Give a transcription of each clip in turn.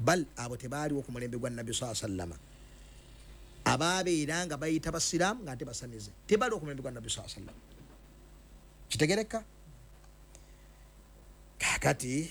Bal abo tebaaliwo ku mulembe gwa Nabbi saa sallama, ababeera nga bayita basiraamu nga ate basamize, tebaliwo ku mulembe gwa Nabbi saa sallama. Kitegereka? Kakati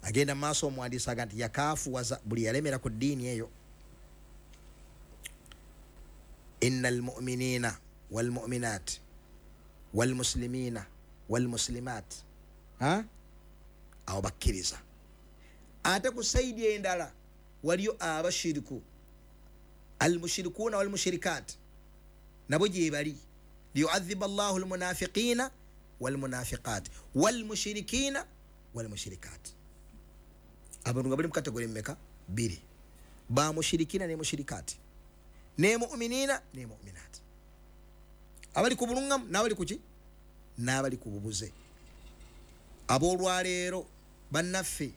agenda maaso omuwandiisi aga nti yakaafuwaza buli yalemera ku ddiini eyo. Inna almuminina walmuminat walmuslimina walmuslimat, awo bakkiriza. Ate ku saidi endala waliyo abashiriku, almushirikuuna walmushirikat, nabo gyebali. Liyuadhiba llahu almunafiqina walmunafiqat walmushirikina walmushirikat. Abantu nga bali mu kategori mmeka? Bbiri, bamushirikina ne mushirikati, ne muminina ne muminat, abali ku bulungamu n'abali kuki, n'abali ku bubuze. Aboolwaleero bannaffe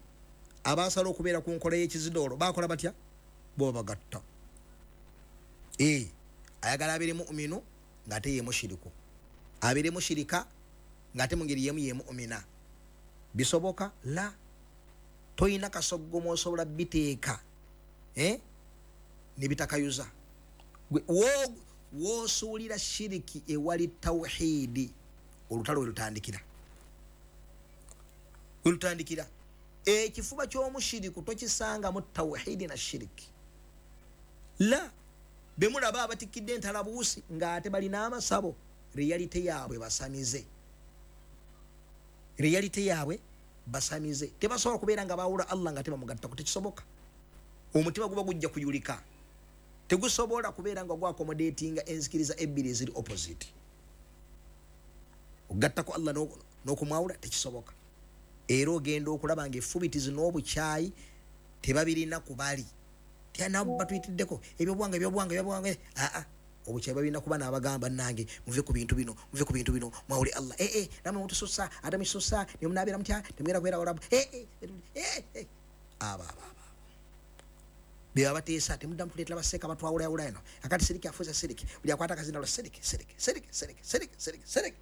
abasala okubeera ku nkola y'ekizidoolo bakola batya? Bo babagatta. Ayagala abeere muminu ng'ate ye mushiriku, abeere mushirika ng'ate mu ngeri yemu ye mumina. Bisoboka? La, toyina kasoggomu osobola biteeka nebitakayuza. Wosuulira shiriki ewali tawhidi, olutalo welutandikira, welutandikira. Ekifuba ky'omushiriku tokisangamu tawhidi na shiriki. La, bemulaba abatikidde entalabuusi ng'ate balina amasabo, reality yaabwe basamize, reality yaabwe basamize. Tebasobola kubeera nga bawula Allah nga tebamugattako, tekisoboka. Omutima guba gujja kuyulika, tegusobola kubeera nga gwakomodatinga enzikiriza ebbiri eziri opposite. Okugattako Allah n'okumwawula tekisoboka. Era ogenda okulaba nga effubitizi n'obukyayi tebabirina ku bali nabo batuyitiddeko ebyobuwanga, ebyobuwanga, ebyobuwanga. Aa, obukyayi babirina kuba n'abagamba, nange muve ku bintu bino, muve ku bintu bino, mwawule Allah. Ee, namwe mutususa, ate mukisusa nemunabeera mutya, temugenda kubeera walabu. Abo abo abo beba bateesa, temuddamu tuleetera baseeka batwawulayawula eno. Akati siriki afuuza siriki, buli akwata akazindalo siriki, siriki, siriki, siriki, siriki, siriki, siriki.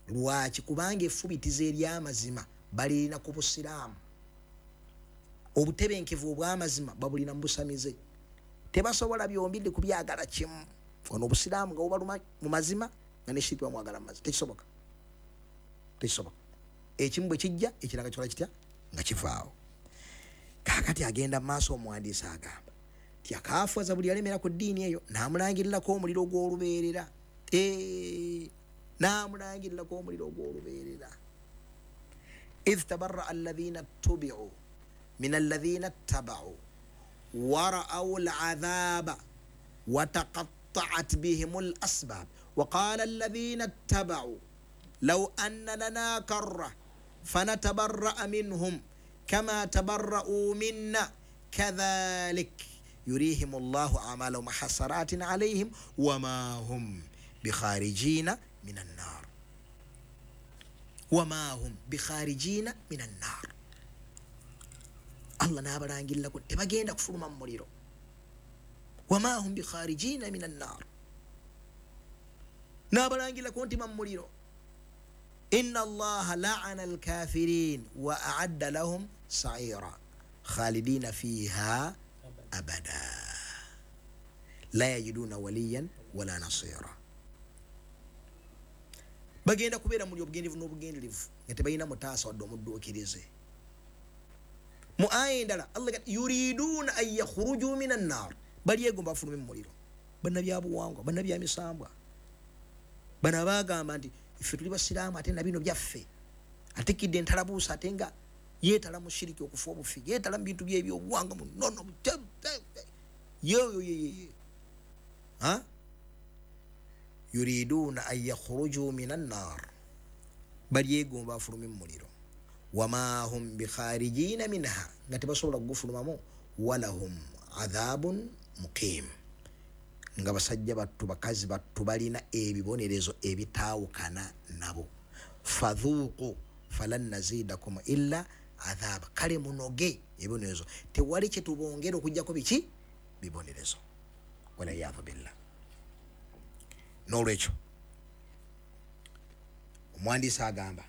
Lwaki? Kubanga effubitizo ery'amazima balirina ku busiraamu, obutebenkevu obw'amazima babulina mu busamize. Tebasobola byombiri kubyagala kimu. Ono obusiraamu nga bubaluma mu mazima, nga ne shiriki bamwagala mu mazima, tekisoboka, tekisoboka. Ekimu bwe kijja, ekiranga kikola kitya? Nga kivaawo. Kakati agenda mu maaso omuwandiisi agamba ti akaafuwaza buli yalemera ku ddiini eyo, n'amulangirirako omuliro gw'olubeerera, n'amulangirirako omuliro gw'olubeerera. Idh tabarraa alladhina ttubiu min alladhina ttabau wara'au al'adhaba wataqatta'at bihim al asbab waqala alladhina ttabau law anna lana karra fanatabarra'a minhum kama tabarra'u minna kadhalik yurihim llahu amalahum hasaratin alayhim wama hum bikharijina min annar, wama hum bikharijina min annar. Allah n'abalangirirako tebagenda kufuluma mu muliro. Wama hum bikharijina min annar, n'abalangirirako nti mu muliro. Inna allaha laana alkafirin wa aadda lahum saira khalidina fiha abada la yajiduna waliyan wala nasira. Bagenda kubeera muli obugenderevu n'obugenderevu nga tebalina mutaasa wadde omudduukirize. Mu aya endala Allah yuriduna an yakhruju min annar, balyegomba bafulume mu muliro. Bannabyabuwangwa, bannabyamisambwa bano abagamba nti ffe tuli basiraamu ate nabino byaffe, atikidde entalabuusa ate nga yeetala mu shiriki okufa obufi, yeetala mu bintu byebyobuwanga munono yeyoyeyeye. Yuriduna an yakhruju min annar, balyegomba bafulume mu muliro. Wama hum bikharijina minha, nga tebasobola kugufulumamu. Walahum adhabun muqim, nga basajja battu, bakazi battu balina ebibonerezo ebitaawukana nabo. Fadhuuqu falan nazidakum illa adhaba, kale munoge ebibonerezo, tewali kyetubongera okugjako biki? Bibonerezo. Waliyadhu billah. N'olwekyo omuwandiisi agamba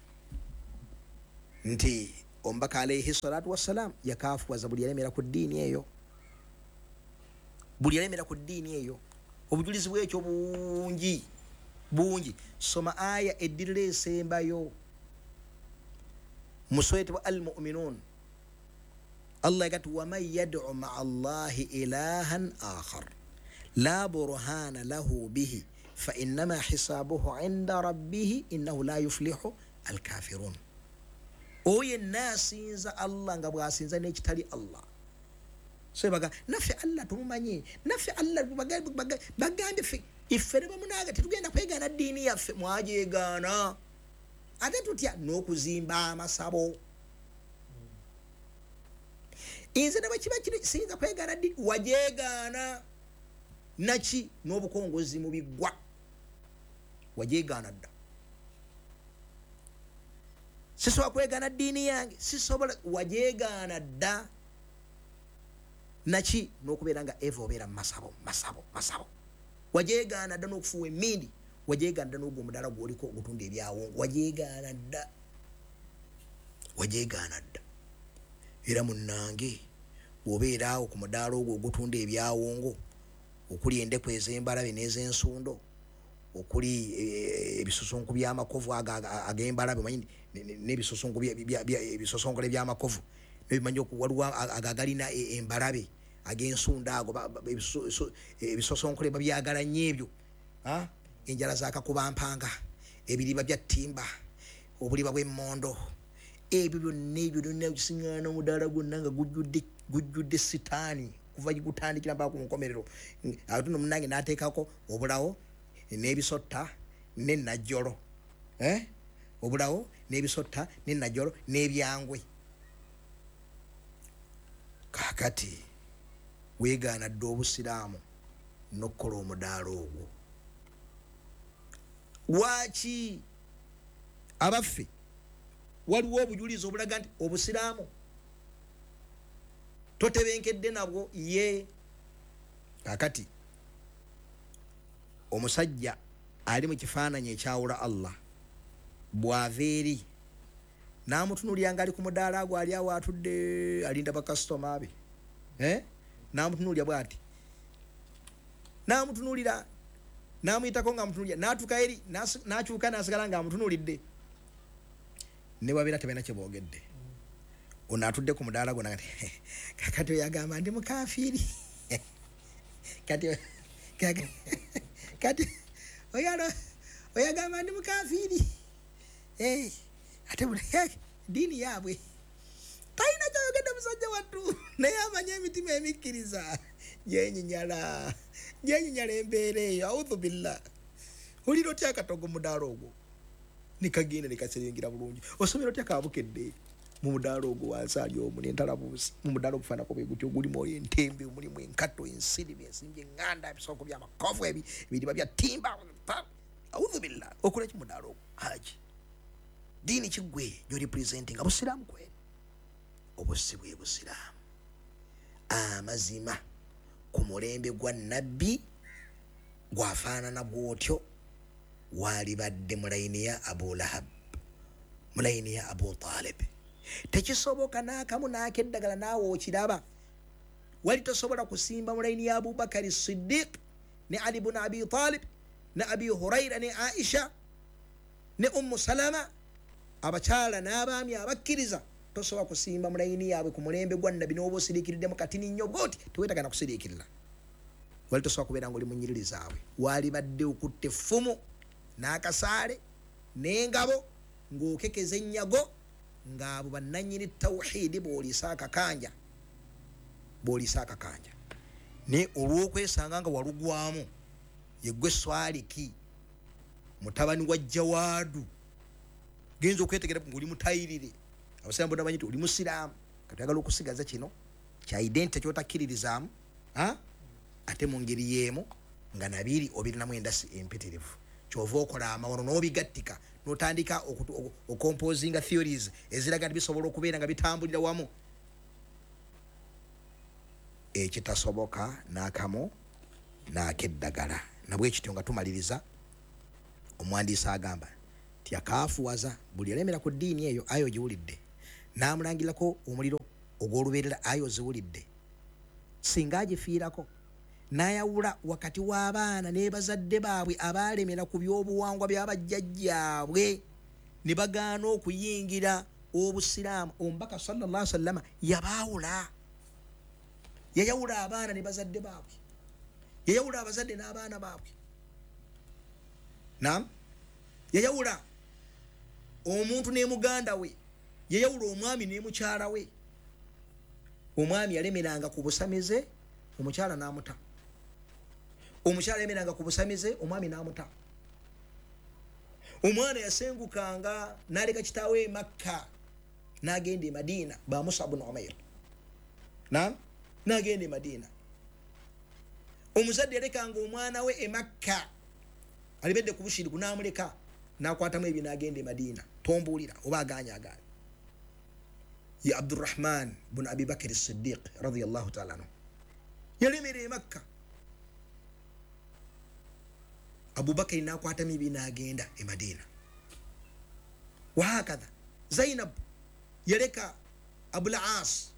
nti Omubaka alaihi salatu wassalam yakafuwaza buli yalemera ku ddiini eyo, buli yalemera ku ddiini eyo. Obujulizi bwekyo bungi bungi. Soma aya eddirira esembayo muswetebwa Al-Muminun. Allah yagati waman yad'u maa Allahi ilahan akhar la burhana lahu bihi fa innama hisabuhu inda rabbihi innahu la yuflihu alkafirun. Oyo yenna asinza Allah nga bw'asinza n'ekitali Allah. So baga naffe Allah tumumanyi, naffe Allah bagambye ffe iffe ne bamunaaga tetugenda kwegaana ddiini yaffe, mwajegaana. Ate tutya n'okuzimba amasabo. Nze ne bwe kiba kiri siyinza kwegaana ddiini, wajegaana naki n'obukongozi mu biggwa, wajegaana dda. Sisobola kwegaana ddiini yange, sisobola, wajegaana dda naki n'okubeera nga eva obeera mu masabo masabo masabo, wajegaana dda n'okufuuwa emmindi, wajegaana dda n'ogwo omudaala gw'oliko ogutunda ebyawongo, wajegaana dda, wajegaana dda. Era munnange bw'obeera awo ku mudaala ogwo ogutunda ebyawongo okuli endeku ez'embalabe n'ez'ensundo, okuli ebisusunku by'amakovu ag'embalabe, omanyi n'ebisusunku ebisosonkole by'amakovu nebimanyi, waliwo agagalina embalabe ag'ensundo ago, ebisosonkole babyagala nnyo ebyo, enjala z'akakubampanga, ebiriba bya ttimba, obuliba bw'emmondo, ebyo byonna ebyo byonna bisiŋŋaana omudaala gwonna nga gujjudde sitaani kuva gutandikira mpaka ku nkomerero. Ate nno munnange n'ateekako obulawo n'ebisotta n'ennajjolo, obulawo n'ebisotta n'ennajjolo n'ebyangwe. Kaakati weegaana dda obusiraamu n'okukola omudaala ogwo. Lwaki abaffe waliwo obujulizi obulaga nti obusiraamu totebenkedde nabwo? Ye kaakati omusajja ali mu kifaananyi ekyawula Allah bw'ava eri n'amutunuulira ng'ali ku mudaala gwe ali awo atudde alinda bakasitoma be, n'amutunuulira bw'ati, n'amutunuulira n'amuyitako ng'amutunuulira, n'atuuka eri n'akyuka n'asigala ng'amutunuulidde, ne babeera tebalina kye boogedde. Ono atudde ku mudaala gwo nagati kakati oyo agamba ndi mukafiiri, kati kati oyo agamba ndi mukafiiri, ate ddiini yaabwe talina kyayogedde musajja wattu, naye amanye emitima emikkiriza gyenyinyala gyenyinyala embeera eyo. Audhu billah. Olira otya akatogo mudaala ogwo nikagenda nikaserengera bulungi? Osomera otya kabukedde mu mudaala ogwo wansi ali omwo n'entalabuusi mu mudaala ogufaanako bwe gutyo, gulimu entembe, mulimu enkato, ensiriba, ensimbi eŋŋanda, ebisoko by'amakovu, ebiriba bya ttimba. Audhu billah. Okola ki mudaala ogwo? Haji, ddiini kiggwe gy'orepresentinga busiraamu kweri? Obusi bwe busiraamu. Amazima ku mulembe gwa nabbi gwafaanana bw'otyo, waalibadde mu layini ya Abu Lahab, mu layini ya Abu Talib. Tekisoboka n'akamu n'akeddagala naawe okiraba. Wali tosobola kusimba mu layini ya Abubakari Siddiq ne Ali bun Abi Talib ne Abi Huraira ne Aisha ne Ummu Salama, abakyala n'abaami abakkiriza, tosobola kusimba mu layini yaabwe ku mulembe gwa nabbi n'oba osiriikiriddemu katini nnyo bw'oti, teweetagana kusiriikirira. Wali tosobola kubeera ng'oli mu nnyiriri zaabwe. Waalibadde okutta effumu n'akasaale n'engabo ng'okekeza ennyago ng'abo bannannyini tawhidi bw'oliisa akakanja, bw'oliisa akakanja. Naye olw'okwesanga nga walugwamu, yeggwe Swaliki mutabani wa Jawaadu, genza okwetegera ng'oli mutayirire, abasiraamu bonna bamanyi nti oli musiraamu, kati oyagala okusigaza kino kya identity ky'otakkiririzaamu, ate mu ngeri y'emu nga nabiri obirinamu endasi empitirivu, kyova okola amawano n'obigattika n'otandika okomposinga theories eziraga nti bisobola okubeera nga bitambulira wamu, ekitasoboka n'akamu n'akeddagala. Nabwe kityo nga tumaliriza, omuwandiisi agamba nti yakaafuwaza buli yalemera ku ddiini eyo, ayo ogiwulidde, N'amulangirako omuliro ogw'olubeerera. Ayo oziwulidde, singa agifiirako n'ayawula wakati w'abaana ne bazadde baabwe abaalemera ku by'obuwangwa by'abajjajjaabwe ne bagaana okuyingira obusiraamu, omubaka sallallahu alaihi wasallama yabaawula. Yayawula abaana ne bazadde baabwe, yayawula abazadde n'abaana baabwe. Naam, yayawula omuntu ne muganda we, yayawula omwami ne mukyala we. Omwami yalemeranga ku busamize, omukyala n'amuta. Omukyala yalemeranga ku busamize, omwami n'amuta. Omwana yasengukanga n'aleka kitaawe e Makka n'agenda e Madiina, ba Musa ibn Umair. Naam, n'agenda e Madiina. Omuzadde yalekanga omwana we e Makka alibedde ku bushiriku n'amuleka n'akwatamu ebyo n'agenda e Madiina. Tombuulira oba agaanya agaanya. Ya Abdurrahman bin Abi Bakr as-Siddiq radiyallahu ta'ala anhu yalemera e Makka, Abubakari n'akwatamu ebyo n'agenda e Madiina. Wahakadha Zainab yaleka Abul As,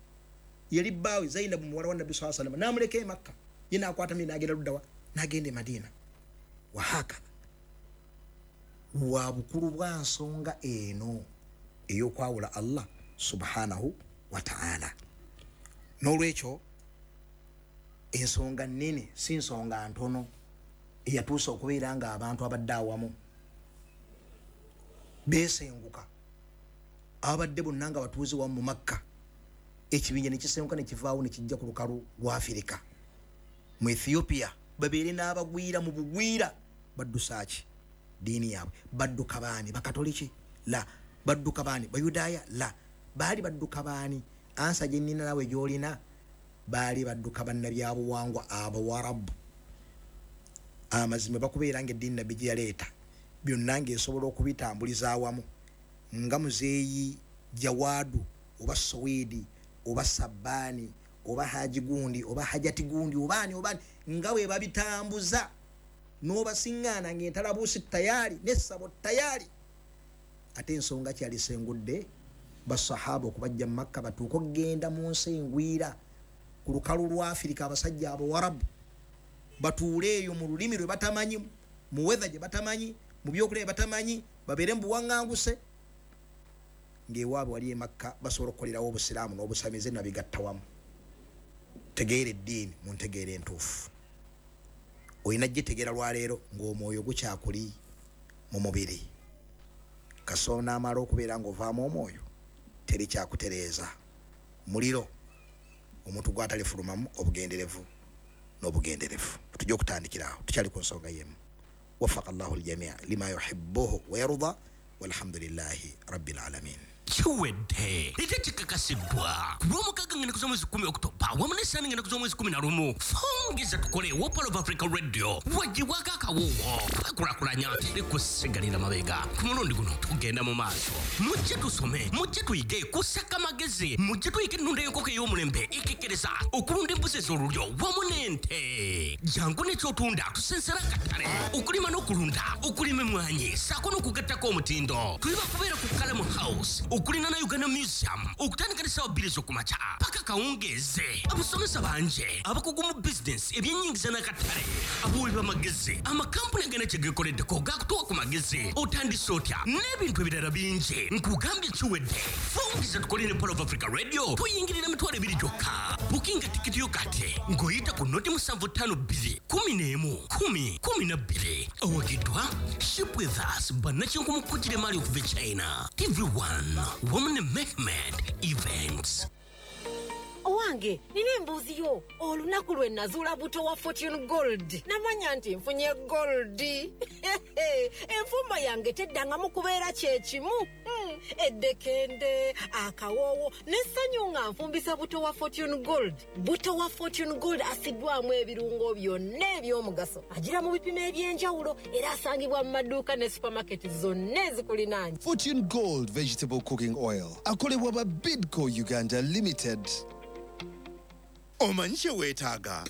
yali bbaawe Zainab muwala wa Nabbi sallallahu alaihi wasallam, n'amuleka e Makka, ye n'akwatamu ebyo n'agenda luddawa, n'agenda e Madiina. Wahakadha wa bukulu bwa nsonga eno ey'okwawula Allah subhanahu wa ta'ala. N'olwekyo ensonga nnene, si nsonga ntono, eyatuusa okubeera nga abantu abadde awamu beesenguka, abadde bonna nga batuuze wamu mu Makka, ekibinja ne kisenguka ne kivaawo ne kijja ku lukalu lwa Afirika mu Ethiopia, babeere n'abagwira mu bugwira. Baddusa ki ddiini yaabwe? Badduka baani? Bakatoliki? La. Badduka baani? Bayudaaya? La. Baali badduka baani? Ansa gye nnina nawe gy'olina, baali badduka bannabyabuwangwa Abawarabu. Amazima bakubeera ng'eddiini Nabbi gye yaleeta byonna ng'esobola okubitambuliza awamu, nga muzeeyi Jawaadu oba Sowedi oba Sabbaani oba Haji gundi oba Hajati gundi obaani obaani, nga bwe babitambuza n'obasiŋŋaana ng'entalabuusi tayari n'essabo tayari. Ate ensonga kyalisengudde basahaba okubajja mu Makka batuuke okugenda mu nsi engwira ku lukalu lwa Afirika, abasajja Abawarabu batuule eyo mu lulimi lwe batamanyi, mu weather gye batamanyi, mu byokulya bye batamanyi, babeere mu buwaŋŋanguse, ng'ewaabwe wali e Makka basobola okukolerawo obusiraamu n'obusamize nabigatta wamu. Tegeera eddiini mu ntegeera entuufu. Olina gitegeera lwaleero ng'omwoyo gukyakuli mu mubiri. Kasooka n'amala okubeera ng'ovaamu omwoyo, teri kyakutereeza. Muliro omuntu gw'atalifulumamu obugenderevu n'obugenderevu. Tujja okutandikira awo, tukyali ku nsonga y'emu. Wafaqa Allahu ljamia lima yuhibbuhu wa yarda, walhamdulillahi rabbil alamin. Kiwedde era kikakasiddwa ku Lwomukaaga ng'ennaku z'omwezi 10 Okutoba wamu n'Essaani ng'ennaku z'omwezi 11. Fungiza tukole wa Pearl of Africa Radio wagibwako akawuwo twekulakulanya, teri kusigalira mabega. Ku mulundi guno tugenda mu maaso. Mujje tusome, mujje tuyige kusaka magezi, mujje tuyige ennunda y'enkoko ey'omulembe ekekkereza, okulunda embuzi ez'olulyo wamu n'ente. Jangu n'ekyotunda tusensera akatale, okulima n'okulunda, okulima emmwanyi ssaako n'okugattako omutindo. Tuli bakubeera ku Kalamu House okulina na Uganda Museum okutandika ne ssaawa 2 ez'okumakya paka kawungeeze. Abasomesa bangi abakugu mu bizinensi, ebyennyingiza n'akatale, abawi b'amagezi, amakampuni agana kye geekoleddeko gakutuwa ku magezi, otandise otya n'ebintu ebirala bingi. Nkugambye kiwedde. Fungiza tukole ne Pearl of Africa Radio, tuyingirira 20,000 gyokka. Bukinga tikiti yo kati ng'oyita ku 075 2 11 10 12. Awagiddwa Ship With Us, bannakinku kugira emmaali okuva e China, TV1 wamu ne Mehmed Events. Owange, nina embuuzi yo. Olunaku lwe nazuula buto wa Fortune Gold, namanya nti nfunye gold. Enfumba yange teddangamu kubeera kyekimu. Eddekende, akawoowo n'essanyu nga nfumbisa buto wa Fortune Gold. Buto wa Fortune Gold asiddwamu ebirungo byonna eby'omugaso, agira mu bipimo eby'enjawulo era asangibwa mu maduuka ne supamaketi zonna ezikulinaanye. Fortune Gold Vegetable Cooking Oil akolebwa ba Bidco Uganda Limited. Omanyi kye weetaaga?